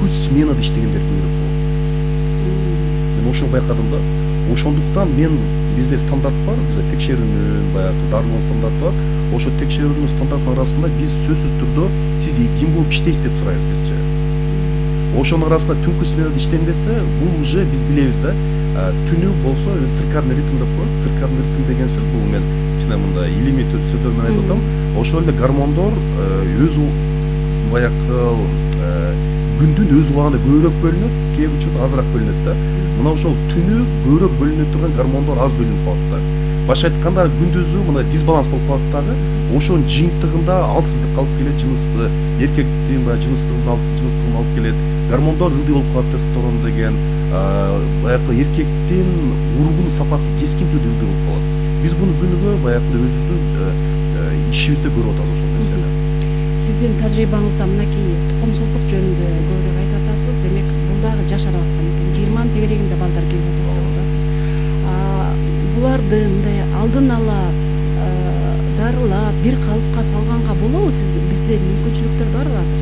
күз сменада иштегендер көбүрөөк болот. Мен ошону байкадым да. Ошондуктан бизде стандарт бар, бизде текшерүүнүн баягы дарылоо стандарты бар. Ошо текшерүүнүн стандартынын арасында биз сөзсүз түрдө сиз ким болуп иштейсиз деп сурайбыз бизче. Ошонун арасында түнкү сменада иштенбесе, бул уже биз билебиз да. Түнү болсо циркадный ритм деп коет. Циркадный ритм деген сөз бул мен кичине мындай илимий сөздөр менен айтып атам. Ошол эле гормондор өз баягы күндүн өз убагында көбүрөөк бөлүнөт, кээ учурда азыраак бөлүнөт да. Мына ошол түнү көбүрөөк бөлүнө турган гормондор аз бөлүнүп калат да. Башка айтканда күндүзү мына дисбаланс болуп калат дагы. Ошонун жыйынтыгында алсыздык алып келет, эркектин жыныстыгын алып келет. Гормондор ылдый болуп калат, тестостерон деген, баягы эркектин ургунун сапаты кескин түрдө ылдый болуп калат. Биз буну күнүгө баягы өзүбүздүн ишибизде көрүп атабыз ошол нерсени. Сиздин тажрыйбаңызда мынакей тукумсуздук жөнүндө көбүрөөк айтып атасыз. Демек, бул дагы жашарып аткан экен. 20 тегерегинде балдар келип атат деп атасыз. Буларды мындай алдын ала дарылап, бир калыпка салганга болобу? Бизде мүмкүнчүлүктөр барбы азыр?